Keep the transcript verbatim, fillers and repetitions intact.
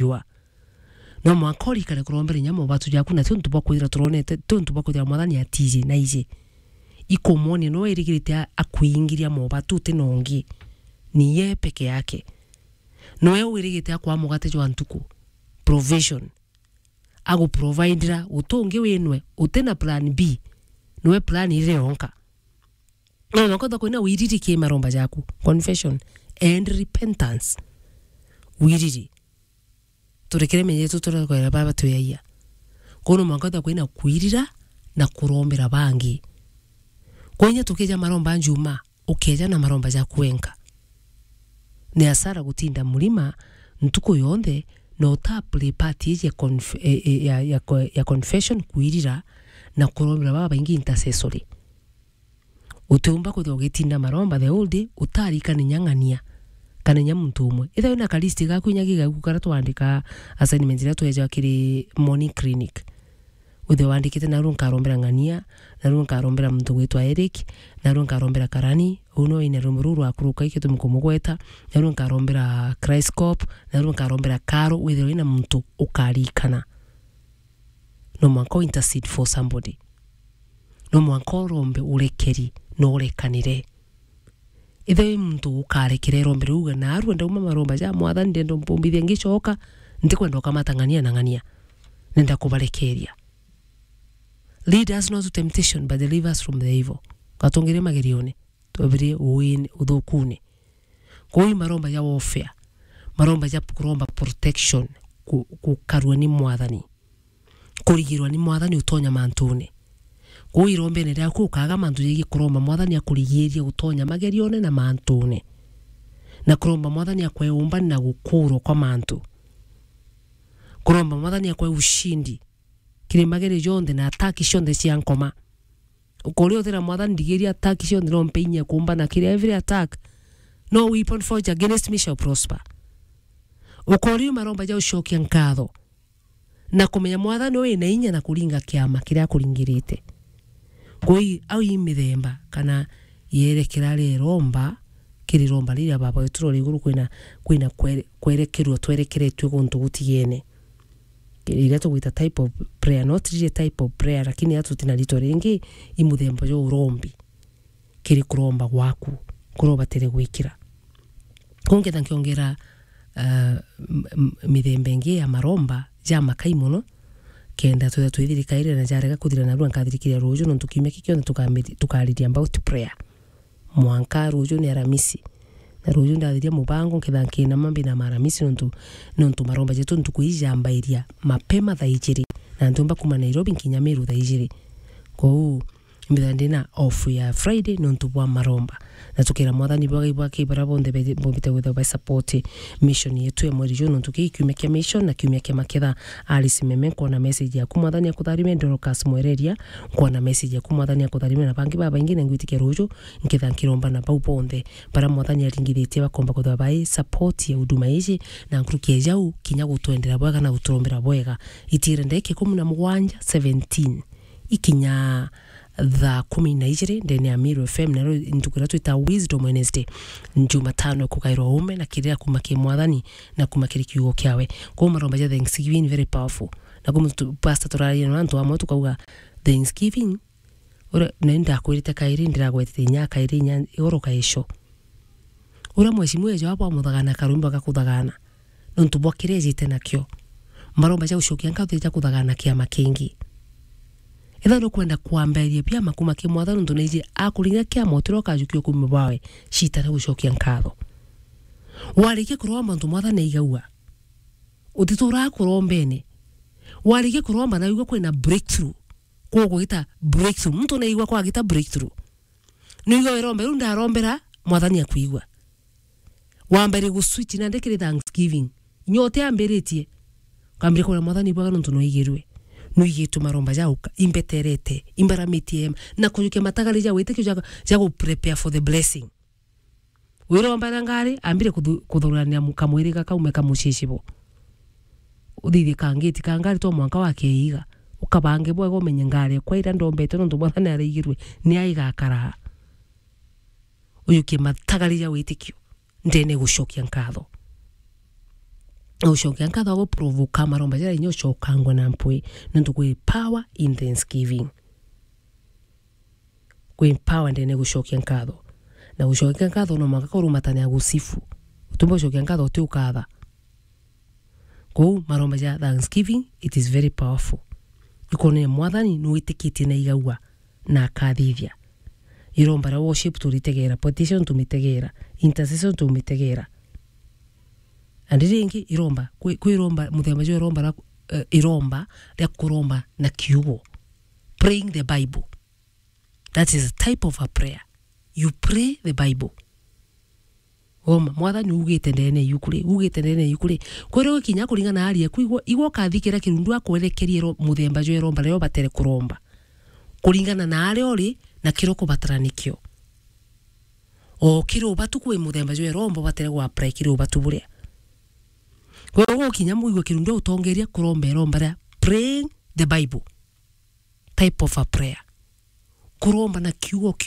jua. No mwanka urikane kurombera inya mobatu jaku, na ti untu bwa kwithira turonete, ti untu bwa kwithira Mwathani atiji na iji. Ikumwonia no irigirite a-, akuingiria mobatu uti na ungi. Ni ye peke yake. Noe wirigite akwa mugate jwa ntuku. Provision. Aguprovidira, uti ungi winwe, uti na plan B. Niwe plan iria yonka. No, no, kwenda kwina wiriri ki maromba jaku. Confession and repentance. Wiriri. Turekere menya yetu turakwera baba tuyaia. Kono mwanka kwenda kwina kwirira na kurombera bangi. Kwenya tukija maromba njuma, ukeja na maromba jaku wenka. Ni asara gutinda murima ntuku yonthe na uta play part iji ya conf-, e, e, ya, ya, ya confession, kwirira na kurombera baba baingi intercessory. Utiumba kwithirwa ugitinda maromba the whole day, utarikana inya ng'ania, kana inya muntu umwe. Ethirwa wina ka list gaku inya gigaku karia twandika assignment iria tweja kiri morning clinic. Withirwa wandikite, narua nkarombera ng'ania, narua nkarombera muntu gwitwa Eric, narua nkarombera karani, uu no wina rumbo ruu rwakuruka ikitumi kumugweta, narua nkarombera Christ Corp, narua nkarombera Karo, withirwa wina muntu ukarikana. No mwanka u intercede for somebody. No mwanka urombe urekeri na urekanire. Ithe wi muntu ukarekera irombere uga, narua ndauma maromba ja Mwathani, ndenda umpumbithia ngicoka, ntikwenda ukamata ng'ania na ng'ania. Nenda kubarekeria. Lead us not to temptation, but deliver us from the evil. Gatungire magerione, twebire uini, uthukune. Kuu i maromba ja warfare, maromba ja kuromba protection, ku-, gukarua ni Mwathani. Kurigirwa ni Mwathani utonya mantune. Kuu irombene riaku ukaga mantu jegie kuromba Mwathani akurigirie utonya magerione na mantune. Na kuromba Mwathani akwe umbani na gukurwa kwa mantu. Kuromba Mwathani akwe ushindi kiri mageri jonthe na attack cionthe cia nkoma. Ukori utira Mwathani, ndigiria attack cionthe, no mpe inya kumbana kiri every attack. No weapon forged against me shall prosper. Ukori maromba ja ucokia nkatho na kumenya Mwathani wi na inya na kuringa kiama kiria akuringirite. Kwi au i mithemba kana yerekera riromba, kiri romba riria Baba wetu uri iguru kwina, kwina kwere-, kwerekerua twerekeretue guntu gutigene. Iria tugwita type of prayer, not really type of prayer, lakini atu tina rito ringi, i muthemba jwa urombi. Kiri kuromba gwaku, kuria ubatire gwikira. Kuu ngetha nkiongera, ah, m-, m-, mithemba ingi ya maromba ja makai mono, kenda twithira twithirikaire na jarega kuthira, narua nkathirikiria ruju, nontu kiumia kii kionthe tukami-, tukariria about prayer. Mwanka ruju ni Aramisi. Na ruju ndathiria mubango, nketha nkinama mbinama Aramisi, nontu, nontu maromba jetu ntuku iji jambairia mapema thaa ijiri. Na ntiumba kuma Nairobi nkinya Meru thaa ijiri. Kwou, mbitha ndina off ya Friday nontu bwa maromba. Na tukira Mwathani bwagai bwake baria bonthe be-, bombite gwithirwa ba support mission yetu ya mweri juu, nontu kii kiumia kia mission na kiumia kia maketha. Alice Meme, nkwona message yaku. Mwathani akutharime. Dorcas Mwereria, nkwona message yaku. Mwathani akutharime na bangi babaingi, na ngwitikia ruju nketha nkiromba na bau bonthe bara Mwathani aringithitie bakomba kwithirwa bai support ya huduma iji, na nkuruki ya jau kinya gutwendera bwega na guturombera bwega. Itire ndagika ikumi na mugwanja, seventeen, ikinya thaa kumi na ijiri ndene ya Meru F M, nario ntuku iria twita Wisdom Wednesday, Jumatano ikugairwa uume na kirira kuma ki Mwathani na kuma kiri kiugo kiawe. Kwou maromba ja Thanksgiving very powerful. Na kwou tu-, pastor turaria na antu amwe tukauga Thanksgiving, uria, na ni ndakwirite kairi, ndiragwetete inya kairi inya igoro kaico. Uria mheshimiwa ejo abo amuthagana karwimbo gakuthagana, nontu bwa kiria ejite nakio. Maromba ja gucokia nkatho ja kuthagana kiama kingi. Ethira nukwenda kwambairia biama kuma ki Mwathani, nontu naiji akuringa kiama utiria ukajukia ukumi bwawe, citara gucokia nkatho. Warikia kuromba nontu Mwathani aigagua, utituraa kurombene. Warikia kuromba na wigua kwina breakthrough, kuu kugita breakthrough. Muntu naigua kwagita breakthrough. Nwigua wiromba riu ndarombera, Mwathani akwigua. Wambere gu switch nandi kiri Thanksgiving. Inya utiambiritie. Ukambiriria kuria Mwathani bwega nontu nwigirue. Nwigitue maromba ja uka, imbeterete, imbaramitie, na kujukia matagari ja witikio ja, ja gu prepare for the blessing. Wiromba na ngari, ambire kuthu-, kuthurania mu-, kamwiriga kaume kamucicibo. Uthithie kangiti ka ngari twa mwanka wa keiga. Ukabange bwega umenye ngari ekwa iria ndombete nontu Mwathani araigirue, ni a igakaraa. Ujukie matagari ja witikio, ndene gucokia nkatho. Na gucokia nkatho aguprovoka maromba jaria inya ucokangwa na mpwi, nontu kwi power in thanksgiving. Kwi power ndene gucokia nkatho. Na gucokia nkatho no mwanka kurumatania gusifu. Utumba gucokia nkatho uti ukatha. Kou maromba ja thanksgiving, it is very powerful. Ikonene Mwathani nwitikite na igaua na akathithia. Iromba ria worship turitegera, petition tumitegera, intercession tumitegera. Na riri ringi iromba, kwi, kwi iromba, muthemba jwa iromba ria, eh, iromba ria kuromba na kiugo. Praying the Bible. That is a type of a prayer. You pray the Bible. Goma, Mwathani ugite ndene yuku ri, ugite ndene yuku ri. Kwere ukinya kuringana na ari eku, igwa, igwa ukathikira kirundu akwerekerie ro-, muthemba jwa iromba riria ubatere kuromba. Kuringana na aria uri, na kiria ukubatara nikio. O kiri ubatu kwi muthemba jwa iromba ubatere gwa apply kiri ubatu buria. Kwere ukinya muigwe kirundu utongeria kuromba iromba ria praying the Bible. Type of a prayer. Kuromba na kiugo